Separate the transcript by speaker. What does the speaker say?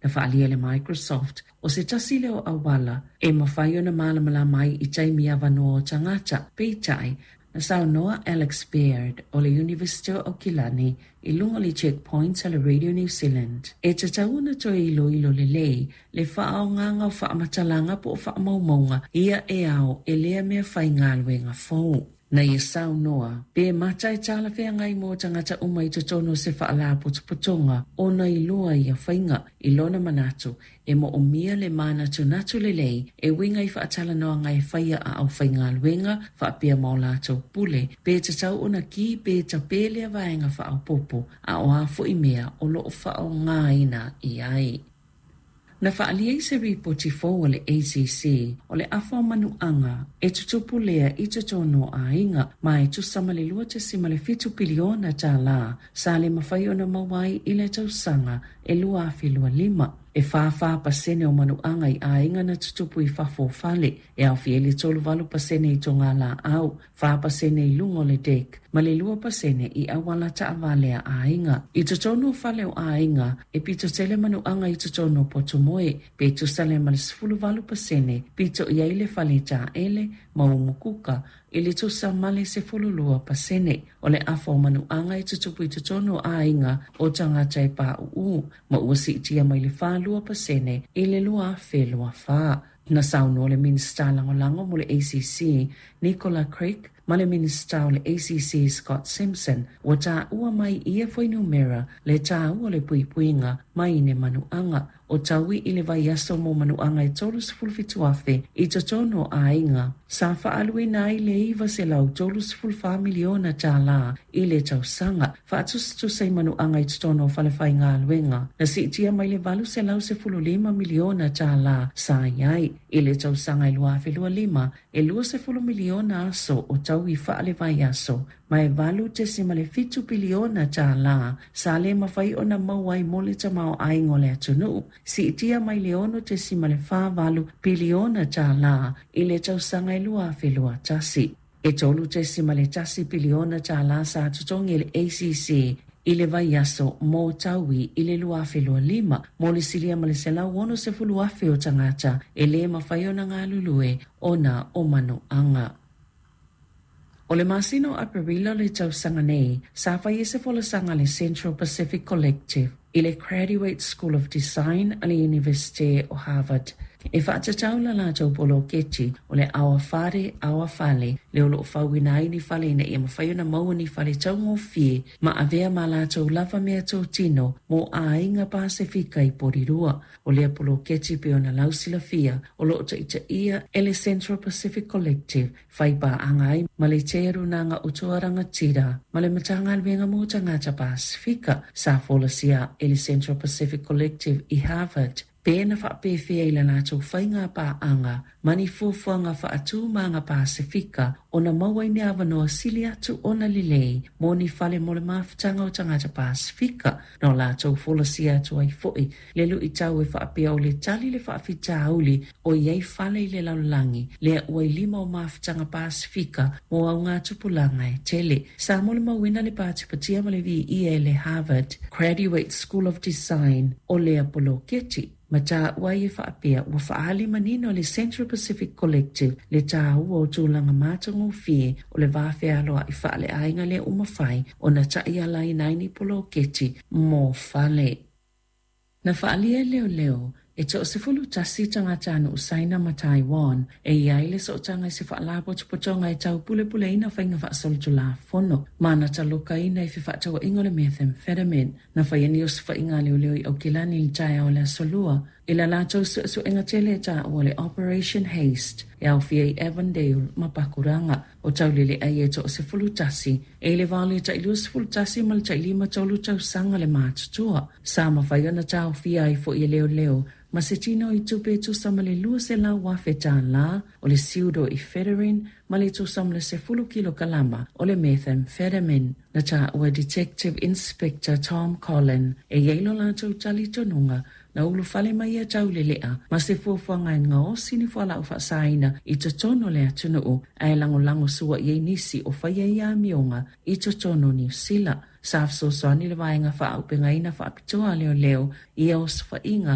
Speaker 1: Na faaalia e le Microsoft, o se tasi lea o auala e mafai ona malamalama ai i taimi avanoa o tagata, peitai, na saunoa Alex Baird o le Iunivesite o Aukilani i luga o le Checkpoints a le Radio New Zealand, e tatau ona toe iloilo lelei le faaaogaga o faamatalaga po o faamaumauga ia e ao e lea meafaigaluega fou. Na ia saunoa, pe mata e talafeagai mo tagata uma i totonu o se faalapotopotoga ona iloa ia faiga. I lona manatu, e moomia le manatunatu lelei e uiga i faatalanoaga e faia a aufaigaluega faapea ma o latou pule, pe tatau ona ki pe tapē lea vaega faaopoopo, a o a foi mea o loo faaaogaina i ai. Na faaalia i se ripoti fou a le ACC o le afa o manuaga e tutupu lea i totonu o aiga, ma e tusa ma le $2.7 piliona tālā sa le mafai ona maua ai i le tausaga e 2025. E 44% o manuaga i aiga na tutupu i fafo o fale, e aofia ai le 38% i togalaau, 4% i luga o le deck, ma le 2% i auala taavale a aiga. I totonu o fale o aiga, e pito tele manuaga i totonu o potumoe, pe tusa lea ma le 18%, pito i ai le fale taele ma umukuka i le tusa ma le 12%. O le afa o manuaga e tutupu i totonu o aiga o tagata e pauu, ma ua siitia mai le 42% i le 2024. Na saunoa le Minisita Lagolago mo le ACC, Nicola Craig, ma le Minisita o le ACC, Scott Simpson, ua taua mai ia fuainumera le taua o le puipuiga mai ni manuaga. O taui i le vaiaso mo manuaga e 37,000 i totonu o aiga, sa faaluina ai le $934 miliona tālā i le tausaga, faatusatusa i manuaga i totonu o falefaigaluega, na siitia mai le $815 miliona tālā sa i ai. I le tausaga e 2025, e 20 miliona aso o taui faalevaiaso, ma e $8.7 piliona tālā sa le mafai ona maua ai mo le tamaoaiga o le atunuu, siitia mai le $6.48 piliona tālā i le tausaga e 2021. E $3.1 piliona tālā sa totogi e le ACC i le vaiaso mo taui i le 2025 mo le silia ma le 160,000 o tagata e le mafai ona galulue ona o manuaga. O le masina o Aperila o le tausaga nei, sa fai ai se folasaga a le Central Pacific Collective i le Graduate School of Design a le Iunivesite o Harvard e faatatau la latou poloketi o le Our Whare, Our Fale, lea o loo fauina ai ni fale ina ia mafai ona maua ni fale taugofie ma avea ma latou lava meatotino mo aiga Pasefika i Porirua. O lea poloketi pei ona lausilafia o loo taitaia e le Central Pacific Collective, fai paaga ai ma le Te Runaga o Toa Rangatira ma le Matagaluega mo Tagata Pasefika. Sa folasia e le Central Pacific Collective i Harvard pe na faapefea i la latou faiga paaga ma ni fuafuaga faatū Pasefika ona maua ai ni avanoa sili atu ona lelei mo ni fale mo le mafutaga o tagata Pasefika. Na o latou folasia atu ai foi le luitau e faapea o le tali le faafitauli o i ai fale i le lalolagi lea ua i lima o mafutaga Pasefika mo augatupulaga e tele. Sa molimauina le patipatia ma le viia e le Harvard Graduate School of Design o lea poloketi, ma taua ai e faapea ua faaali manino le Central Pacific Collective le taua o tulaga matagofie o le va fealoai faaleaiga lea ua mafai ona taialaina ai ni poloketi mo fale. Na faaalia e leoleo e 11 tagatanuu Saina ma Taiwan e i ai le sootaga i se faalapotopotoga e taupulepuleina faiga faasolitulafono ma na talokaina i fefaatauaiga o le methamphetamine. Na faia ni osofaiga a leoleo i Aukilani i le taeao o le Aso Lua i la latou suesuega tele e taua o le Operation Haste e aofia i Avondale ma Pakuranga. O taulele'a ia e 11 e i le va o le tai 21 ma le tai 53 tausaga le matutua. Sa mafai ona taofia ai foi e leoleo ma se tino i tupe e tusa ma le $200,000 tālā o le pseudoephedrine ma le tusa ma le 10 kilokalama o le methamphetamine. Na taua Detective Inspector Tom Collin e i ai lo latou talitonuga na ulufale mai ia taulele'a ma se fuafuaga e gaosi ni fualaau faasaina i totonu o le atunuu ae lagolago sua i ai nisi o faia ia amioga i totonu o Niu Sila. Sa fesoasoani le vaega faaaupegaina faapitoa a leoleo i ia osofaiga.